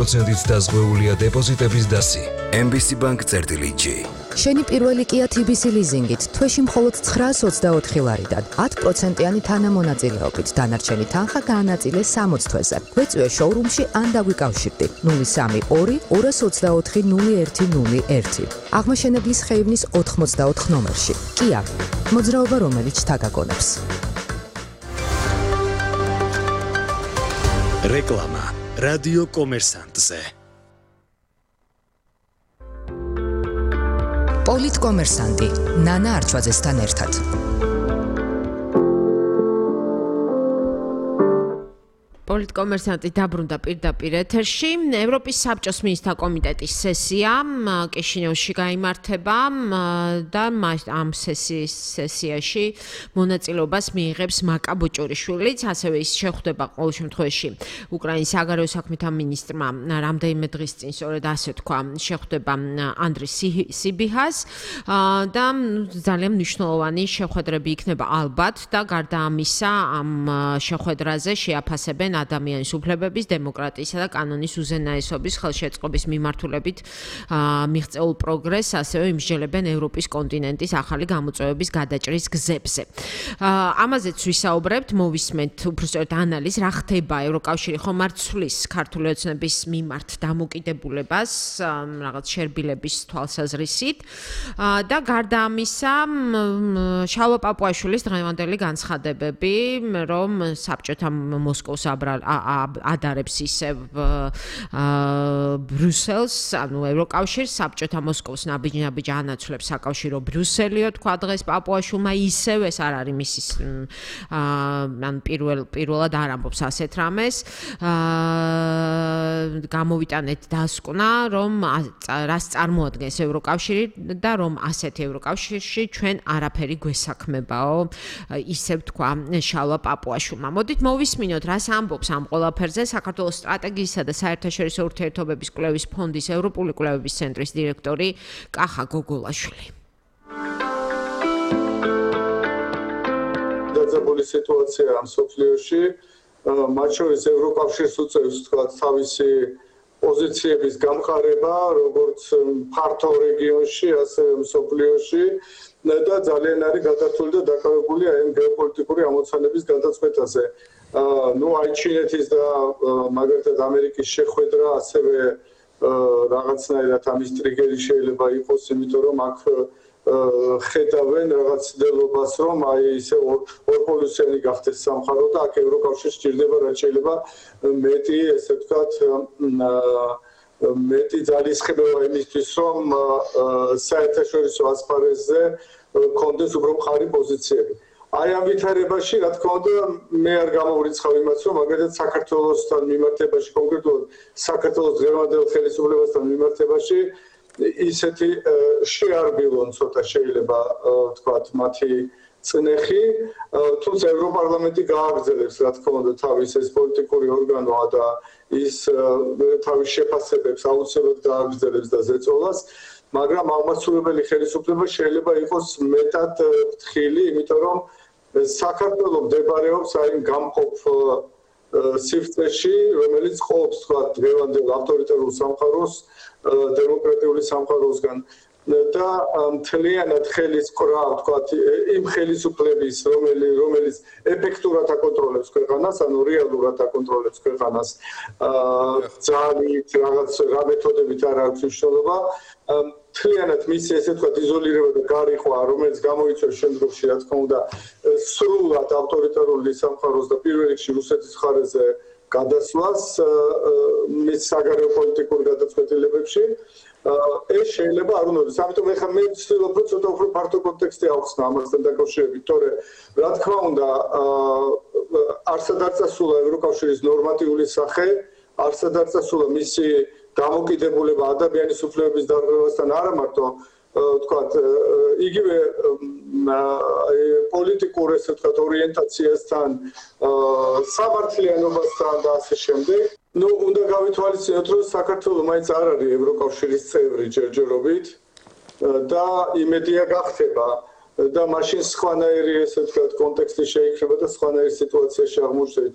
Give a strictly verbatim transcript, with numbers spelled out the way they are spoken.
პროცენტით დაზღვეულია დეპოზიტების დასი. ემ ბი სი Bank წერტილი ჯი. შენი პირველი Kia თი ბი სი ლიზინგით თვეში მხოლოდ ცხრაას ოცდაოთხი ლარიდან ათი პროცენტიანი თანამონაწილეობით დანარჩენი თანხა გაანაწილე სამოცი თვეზე. გვეწვიე შოურუმში ან დაგვიკავშირდი ნული სამი ორი ორას ოცდაოთხი ნული ერთი ნული ერთი. აღმაშენებლის ხეივნის ოთხმოცდაოთხ ნომერში. Kia. მოძრაობა რომელიც თაგაგონებს. რეკლამა რადიო კომერსანტზე. პოლიტკომერსანტი ნანა არჩვაძესთან ერთად. პოლიტკომერსანტი დაბრუნდა პირდაპირ ეთერში. ევროპის საბჭოს მინისტრთა კომიტეტის სესია კიშინევში გაიმართება და ამ სესიის სესიაში მონაწილეობას მიიღებს მაკა ბოჭორიშვილიც, ასევე ის შეხვდება ყოველ შემთხვევაში უკრაინის საგარეო საქმეთა მინისტრმა რამდენიმე დღის წინ, სწორედ ასე თქვა, შეხვდება ანდრი სიბიჰას და ძალიან მნიშვნელოვანი შეხვედრები იქნება ალბათ და გარდა ამისა ამ შეხვედრაზე შეაფასებენ ადამიანის უფლებების, დემოკრატიისა და კანონის უზენაესობის ხელშეწყობის მიმართულებით მიღწეულ პროგრესს, ასევე იმსჯელებენ ევროპის კონტინენტის ახალი გამოწვევების გადაჭრის გზებზე. ამაზეც ვისაუბრებთ, მოვისმენთ უბრალოდ ანალიზ, რა ხდება ევროკავშირი ხომ არ ცვლის ქართული ოცნების მიმართ დამოკიდებულებას, რაღაც შერბილების თვალსაზრისით და გარდა ამისა, შალვა პაპუაშვილის დღევანდელი განცხადებები, რომ საბჭოთა მოსკოვს ადარებს ისევ ბრიუსელს, ანუ ევროკავშირს, საბჭოთა მოსკოვს ნაბიჯ-ნაბიჯ ანაცვლებს საკავშირო ბრიუსელიო, თქვა დღეს პაპუაშვილმა, ისევ ეს არ არის მისი ან პირველ პირველად არ ამბობს ასეთ რამეს. გამოვიტანეთ დასკვნა, რომ რას წარმოადგენს ევროკავშირი და რომ ასეთი ევროკავშირში ჩვენ არაფერი გვესაქმებაო, ისევ თქვა შალვა პაპუაშვილმა. მოდით მოვისმინოთ, რას ამბობს ამ ყველაფერზე საქართველოს სტრატეგიისა და საერთაშორისო ურთიერთობების კვლევის ფონდის ევროპული კვლევების ცენტრის დირექტორი კახა გოგოლაშვილი. დაძაბული სიტუაცია მსოფლიოში, მათ შორის ევროკავშირს უწევს თქვა თავისი პოზიციების გამყარება, როგორც ფართო რეგიონში, ასევე მსოფლიოში და ძალიან არის გადართული და დაკავებული ამ გეოპოლიტიკური ამოცანების გადაწყვეტაზე. ნუ აი ჩინეთის და მაგალითად ამერიკის შეხვედრა ასევე რაღაცნაირად ამის ტრიგერი შეიძლება იყოს, იმიტომ რომ აქ ხედავენ რაღაც ცდილობას, რომ აი ისე ორპოლუსიანი გახდეს სამყარო და აქ ევროკავშირს სჭირდება რაც შეიძლება მეტი, ესე ვთქვათ, მეტი ძალისხმევა იმისთვის, რომ საერთაშორისო ასპარეზზე კონდეს უფრო მყარი პოზიციები. აი ამ ვითარებაში, რა თქმა უნდა, მე არ გამოვრიცხავ იმას, რომ მაგალითად საქართველოსთან მიმართებაში, კონკრეტულად საქართველოს დღევანდელ ხელისუფლებასთან მიმართებაში ისეთი შეარბილონ ცოტა შეიძლება ვთქვათ მათი წნეხი, თუმცა ევროპარლამენტი გააგრძელებს, რა თქმა უნდა, თავის ეს პოლიტიკური ორგანოა და ის თავის შეფასებებს აუცილებლად გააგრძელებს და ზეწოლას, მაგრამ აღმასრულებელი ხელისუფლება შეიძლება იყოს მეტად ფრთხილი, იმიტომ რომ საქართველო მდებარეობს აი გამყოფ სივრცეში, რომელიც ყოფს თქვა დღევანდელ ავტორიტარულ სამყაროს დემოკრატიული სამყაროსგან და მთლიანად ხელის კრა თქვა იმ ხელისუფლების, რომელიც ეფექტურად აკონტროლებს ქვეყანას, ანუ რეალურად აკონტროლებს ქვეყანას, ძალით, რაღაც რა მეთოდებით არ აქვს მნიშვნელობა, მთლიანად მისი ესე ვთქვათ იზოლირება და გარიყვა, რომელიც გამოიწვევს შემდგომში, რა თქმა უნდა, სრულად ავტორიტარული სამყაროს და პირველ რიგში რუსეთის მხარეზე გადასვლას მის საგარეო პოლიტიკურ გადაწყვეტილებებში. ეს შეიძლება არ უნდა, ამიტომ ეხლა მე ვცდილობ რომ ცოტა უფრო ფართო კონტექსტი ავხსნა ამასთან დაკავშირებით, თორე რა თქმა უნდა, არსად არ წასულა ევროკავშირის ნორმატიული სახე, არსად არ წასულა მისი დამოკიდებულება ადამიანის უფლებების დარღვევასთან არა მარტო ვთქვათ, იგივე პოლიტიკურ ესე ვთქვათ ორიენტაციასთან, სამართლიანობასთან და ასე შემდეგ. ნუ უნდა გავითვალისწინოთ, რომ საქართველო მაინც არ არის ევროკავშირის წევრი ჯერჯერობით და იმედია გახდება და მაშინ სხვანაირი ესე ვთქვათ კონტექსტი შეიქმნება და სხვანაირი სიტუაციაში აღმოჩნდებით.